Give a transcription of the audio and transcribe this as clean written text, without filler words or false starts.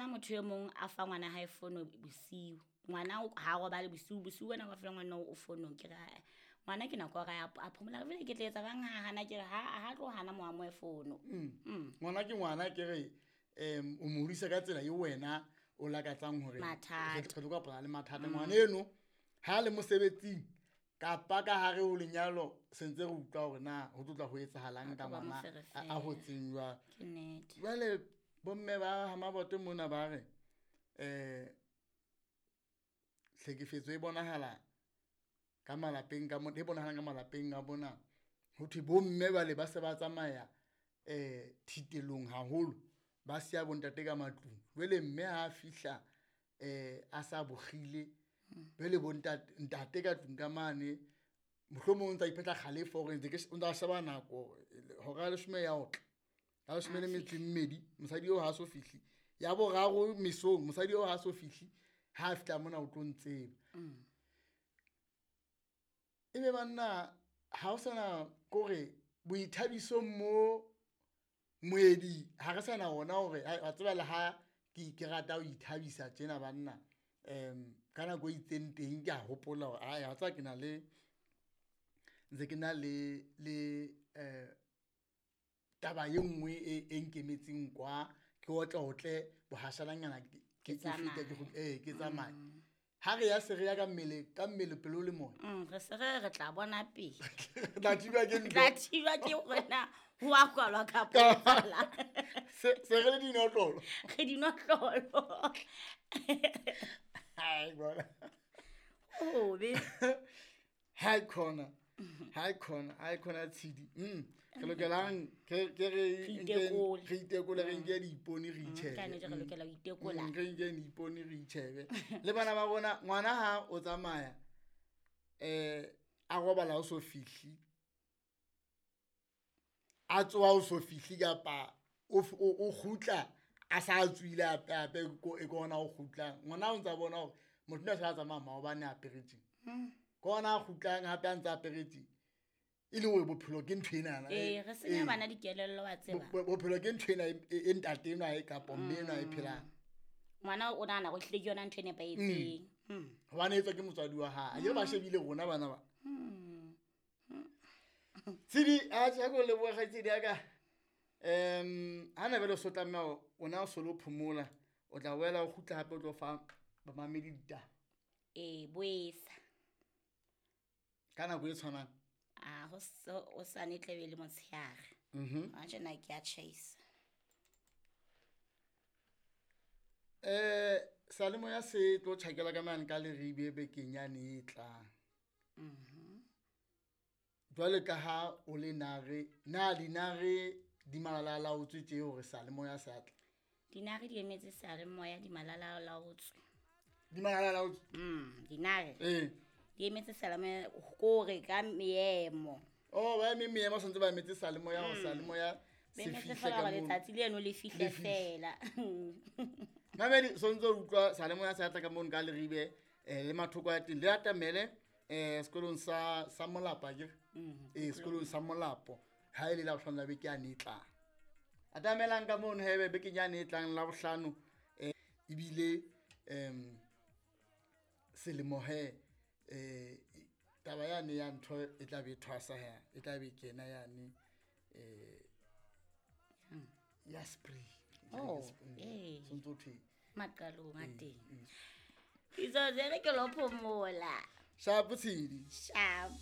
motho e mong a fa ngwana hae fono bosiu. Ngwana ha robale bosiu, bosiu wena wa fela ngwana o fonong ke re ngwana ke nako ya a phomola vele ke tla etsa bang ha hana ke re ha tlo hana mo amoe fono. Ngwana ke ngwana ke re o mo hodisa ka tsela e wena o lakatsang hore Mathata. re tlo kopana le mathata. Ngwana eno ha le mosebetsing kapa ka hare ho lenyalo sentse re utlwa hore na ho tlotla ho etsahalang ka Ho tlo ba ngwana moferefere. a hotseng jwang. Ke nnete. Jwale bomme ba ha Mabote mona ba re tlhekefetso e bonahala ka malapeng ka mona, e bonahalang ka malapeng a bona. Ho thwe bomme bale ba se ba tsamaya thitelong haholo, ba siya bontate ka matlung. Jwale mme ha a fihla a sa bokgile, jwale bontate ntate ka tlung ka mane mohlomong o ntsa iphetla kgalefo hore ntse ke o ntsa sheba nako hora ya leshome ya otla. Ya leshome le metso e mmedi, mosadi eo ha so fihli. Ya boraro mesong, mosadi eo ha so fihli, ha fihla mona o tlo ntseba. Ebe banna ha o sana kore boithabisong mo moedi ha re sana ona hore wa tseba le ha ke rata ho ithabisa tjena banna. Ka nako e itseng teng ke a hopola hore ai wa tseba ke na le ntse ke na le taba e nngwe e nkemetseng kwa ke otlotle bohashalanyana ke fete ke tsamaye. Ha re ya se re ya ka mmele pelo le moya. Re se re re tla bona pele. Tla thibwa ke ntho. Tla thibwa ke hore na ho a kwalwa kapa ho etsahalang. Se re le dinotlolo. Re dinotlolo. Hai bona. Hobe. Hai khona. Hai khona, hai khona tshidi. Re lokelang ke re itekole. Re itekole, re nke diipone re itjhebe. Ka nnete re lokela ho itekola. Re nke diipone re itjhebe. Le bana ba rona, ngwana ha o tsamaya a robala o so fihli. A tsoha o so fihli kapa o kgutla a sa tswile hape e kona o kgutlang. Ngwana o ntsa bona hore motho ona sa tsamaya maobane a apere tje. Kona a kgutlang hape a ntse a apere tje. E le hore bophelo ke ntho enana. Re senya bana dikelello wa tseba. Bophelo ke ntho ena e ntate enwa e kapa mme enwa e phelang. Ngwana o nahana hore ehlile ke yona ntho e nepahetseng. Hobane e tswa ke motswadi wa hae. Akere ba shebile rona bana ba. Tshidi, a tjha ko leboha kgaitsedi ya ka. Ha na bele so tlameha o na o solo phomola, o tla boela o kgutla hape o tlo fa bamamedi ditaba. Boesa. Ka nako e tshwanang? A ho o sa ne tlebe le motshehare. Ha tjena ke a tjhaisa. Salemoya se tlo tjhakela ka mane ka Leribe bekeng yane e tlang. Jwale ka ha o le nare, na dinare di malalalaotswe tje hore salemoya se a tla? Dinare di emetse salemoya di malalalaotswe. Di malalalaotswe? Dinare. Di emetse salemoya kore ka meemo. Oh, ba eme meemo santse ba emetse salemoya hore salemoya Ba se emetse fihle fela ka hore moo. letsatsi leno le fihle Le fihle. fela. Mamedi, sontse o utlwa salemoya se atla ka mono ka Leribe, le mathoko a teng. Le atamele, sekolong sa Molapo, akere? Sekolong sa Molapo. Ha e le la bohlano la beke yane e tlang. Atamelang ka mono hebe bekeng yane e tlang la bohlano, ebile, selemo he, taba yane ya ntho e tla be e thwasa he, e tla be e kena yane, ya spring. Oh, Spring. Sontso thwe. Maqalong a teng. Ditsotsi re ke lo phomola. Sharp tshedi. Sharp.